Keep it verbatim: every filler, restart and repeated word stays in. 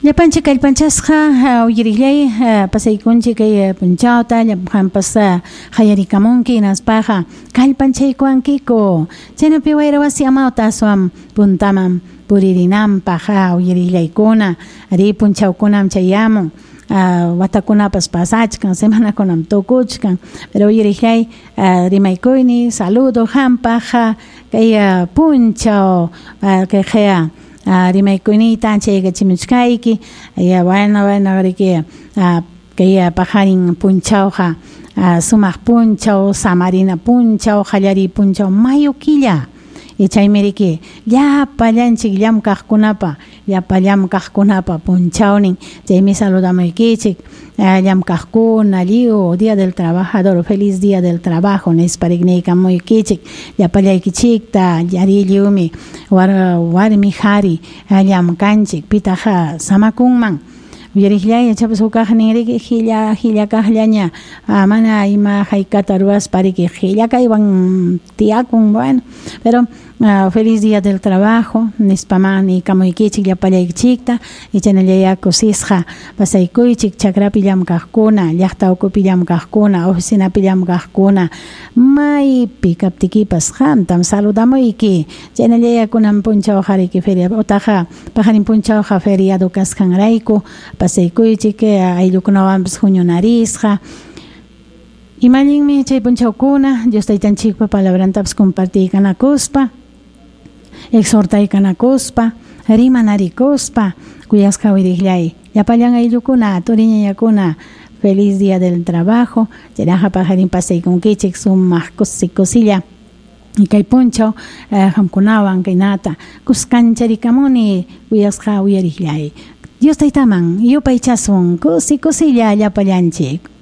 Llapanchik kallpanchasqa uyariqllay pasaykunchik kay punchawta qampas qallarikamunki hinaspaqa kallpanchaykuwankiku chaynapi wayra wasi amawta aswan puntaman puririnanpaq uyariqllaykuna ari punchawkunam chayamun watakunapas pasachkan semanakunam tukuchkan pero uyariqllay rimaykuyni saludo qampaq kay punchaw kay qaya rimaykuyniyta anchaykachimuchkayki ya bueno bueno riki kay paqarin punchawqa sumaq punchaw samarina punchaw qallariy punchaw mayo killa y chaymi riki llapallanchik llamkaqkunapa llapa llamkaqkunapa punchawnin chaymi saludamuykichik llamkaqkuna lliw Día del Trabajador feliz Día del Trabajo nispa riqniykamuykichik llapallaykichikta ari lliwmi warmi qhari llamkanchik pitaq samakunman uyariqllay ichapas hukaqnin riki qilla qilla kaqllaña mana ima haykata ruwaspa riki qilla kaywan tiyakun bueno pero feliz Día del Trabajo nispaman niykamuykichik llapallaykichikta y chaynallayá kusisqa pasaykuychik chakrapi llamkaqkuna llaqta ukupi llamkaqkuna oficinapi llamkaqkuna maypi kaptikipas qamtam saludamuyki chaynallayá kunan punchawqa riki feria utaqa paqarin punchawqa feriado kasqanrayku pasaykuychik ayllukunawanpas huñunarisqa ima allinmi chay punchawkuna Dios taytanchikpa palabrantapas compartiykanakuspa exhortaykanakuspa rimanarikuspa kuyasqa uyariqllay llapallan ayllukuna turiñañakuna feliz Día del Trabajo chaynaqa paqarin pasaykunkichik sumaq kusi kusilla y kay punchaw qamkunawan kaynata kuskancharikamuni kuyasqa uyariqllay Dios taytaman yupaychasun kusi kusilla llapallanchik.